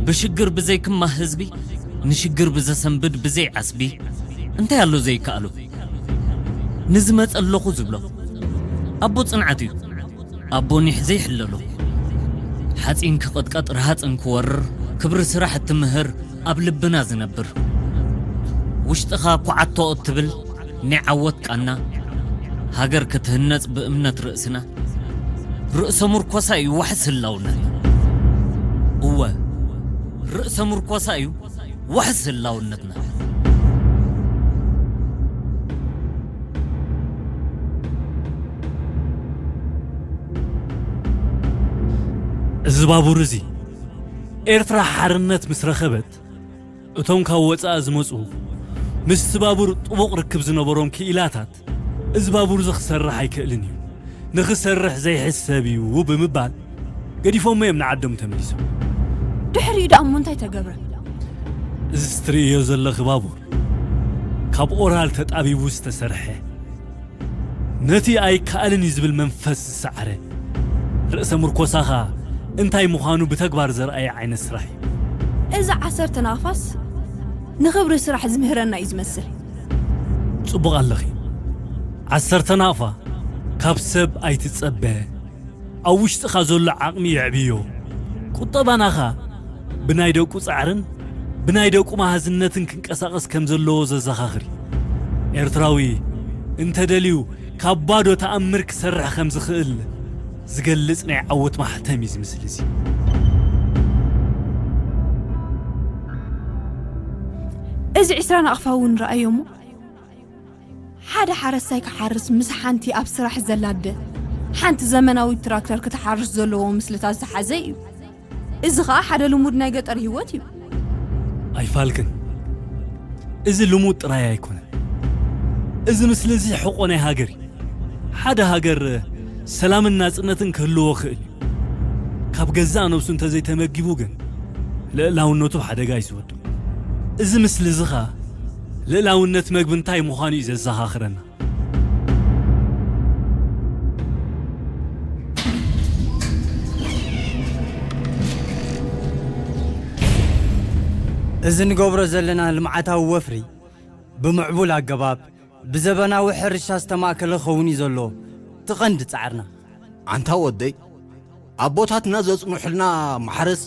ብሽግር ብዘይክማ ህዝቢ፣ ንሽግር ብዘሰንብድ ብዘይ ዓስቢ፣ እንታይ ኣሎ ዘይከኣሎ? ንዝመጸ ኣለኹ ዝብሎ። ኣቦ ጽንዓት እዩ። ኣቦ ኒሕ ዘይሕለሎ። ሓጺን ክቕጥቀጥ፣ ረሃጽን ክወርር፣ ክብሪ ስራሕ እትምህር፣ ኣብ ልብና ዝነብር። ውሽጥኻ ኩዓቶ እትብል ናይ ዓወት ቃና፣ ሃገር ክትህነጽ ብእምነት ርእስና፣ ርእሰ ምርኮሳ እዩ ዋሕስ ህላውነትና። እወ፣ ርእሰ ምርኮሳ እዩ ዋሕስ ህላውነትና። እዚ ባቡር እዚ ኤርትራ ሓርነት ምስ ረኸበት፣ እቶም ካብ ወጻኢ ዝመጹ፣ ምስቲ ባቡር ጥቡቕ ርክብ ዝነበሮም ክኢላታት፣ "እዚ ባቡር እዚ ክሰርሕ ኣይክእልን እዩ፣ ንኽሰርሕ ዘይሕሰብ እዩ" ብምባል፣ ገዲፎሞ እዮም ንዓዶም ተመሊሶም። ድሕሪኡ ደኣ እሞ እንታይ ተገብረ? እዚ እትርእዮ ዘለኺ ባቡር፣ ካብ ኦራል ተጣቢቡ ዝተሰርሐ፣ ነቲ ኣይከኣልን እዩ ዝብል መንፈስ ዝሰዓረ፣ ርእሰ ምርኮሳኻ እንታይ ምዃኑ ብተግባር ዘርኣየ ዓይነት ስራሕ እዩ። እዚ ዓሰርተ ናቕፋስ ንኽብሪ ስራሕ ዝምህረና እዩ ዝመስል። ጽቡቕ ኣለኺ። ዓሰርተ ናቕፋ ካብ ሰብ ኣይትጸበ። ኣብ ውሽጥኻ ዘሎ ዓቕሚ የዕብዮ። ቁጠባናኻ ብናይ ደቁ ጻዕርን ብናይ ደቁ መሃዝነትን ክንቀሳቐስ ከም ዘለዎ ዘዘኻኽር እዩ። ኤርትራዊ እንተ ደልዩ፣ ካብ ባዶ ተኣምር ክሰርሕ ከም ዝኽእል ዝገልጽ ናይ ዓወት ማሕተም እዩ እዚ ምስሊ እዚ። እዚ ዕስራ ናቕፋ እውን ረኣዮ እሞ፣ ሓደ ሓረስታይ ክሓርስ ምስ ሓንቲ ኣብ ስራሕ ዘላ ኣደ፣ ሓንቲ ዘመናዊት ትራክተር ክትሓርስ ዘለዎ ምስልታት ዝሓዘ እዩ። እዚ ኸኣ ሓደ ልሙድ ናይ ገጠር ህይወት እዩ። ኣይፋልክን፣ እዚ ልሙድ ጥራይ ኣይኮነን። እዚ ምስሊ እዚ ሕቖ ናይ ሃገር እዩ። ሓደ ሃገር ሰላምን ናጽነትን ክህልዎ ክእል እዩ። ካብ ገዛእ ነብሱ እንተዘይተመጊቡ ግን፣ ልእላውነቱ ሓደጋ እዩ ዝወድቕ። እዚ ምስሊ እዚ ኸኣ ልእላውነት መግቢ እንታይ ምዃኑ እዩ ዘዘኻኽረና። እዚ ንገብሮ ዘለና ልምዓታዊ ወፍሪ፣ ብምዕቡል ኣገባብ፣ ብዘበናዊ ሕርሻ ዝተማእከለ ክኸውን እዩ ዘሎ እቲ ቀንዲ ጻዕርና። ኣንታ ወደይ፣ ኣቦታትና ዘጽንሑልና ማሕረስ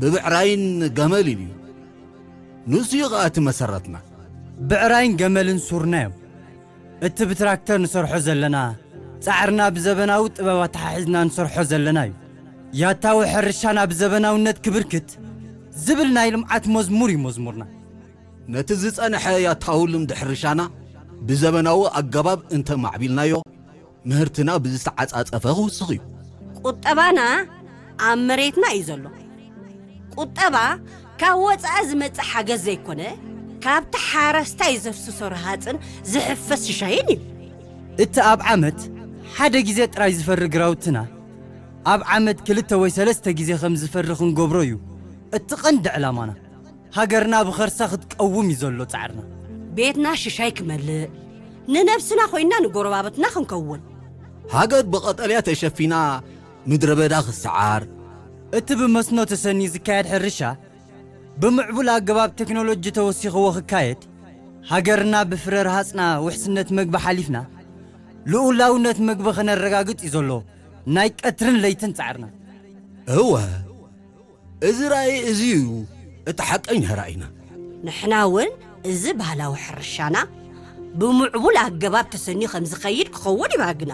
ብብዕራይን ገመልን እዩ። ንሱ እዩ ኸኣ እቲ መሰረትና። ብዕራይን ገመልን ሱርና እዮም። እቲ ብትራክተር ንሰርሖ ዘለና፣ ጻዕርና ብዘበናዊ ጥበብ ኣተሓሒዝና ንሰርሖ ዘለና እዩ። ያታዊ ሕርሻና ብዘበናውነት ክብርክት ዝብል ናይ ልምዓት መዝሙር እዩ መዝሙርና። ነቲ ዝጸንሐ ያታዊ ልምዲ ሕርሻና ብዘበናዊ ኣገባብ እንተ ማዕቢልናዮ፣ ምህርትና ብዝተዓጻጸፈ ክውስኽ እዩ። ቁጠባና ኣብ መሬትና እዩ ዘሎ። ቁጠባ ካብ ወጻኢ ዝመጽእ ሓገዝ ዘይኮነ፣ ካብቲ ሓረስታይ ዘፍስሶ ረሃጽን ዝሕፈስ ሽሻይን እዩ። እቲ ኣብ ዓመት ሓደ ግዜ ጥራይ ዝፈሪ ግራውትና፣ ኣብ ዓመት ክልተ ወይ ሰለስተ ግዜ ከም ዝፈሪ ክንገብሮ እዩ እቲ ቀንዲ ዕላማና። ሃገርና ብኸርሳ ክትቀውም እዩ ዘሎ ጻዕርና። ቤትና ሽሻይ ክመልእ፣ ንነብስና ኮይንና ንጎረባብትና ክንከውን። ሃገር ብቐጠልያ ተሸፊና ምድረ በዳ ክሰዓር። እቲ ብመስኖ ተሰንዩ ዝካየድ ሕርሻ፣ ብምዕቡል ኣገባብ ቴክኖሎጂ ተወሲኽዎ ክካየድ፣ ሃገርና ብፍረ ረሃጽና ውሕስነት መግቢ ሓሊፍና፣ ልኡላውነት መግቢ ከነረጋግጽ እዩ ዘሎ ናይ ቀትርን ለይትን ጻዕርና። እወ፣ እዚ ራእይ እዚ እዩ እቲ ሓቀኛ ራእይና። ንሕና እውን እዚ ባህላዊ ሕርሻና ብምዕቡል ኣገባብ ተሰንዩ ከም ዝኸይድ ክኸውን እዩ ባህግና።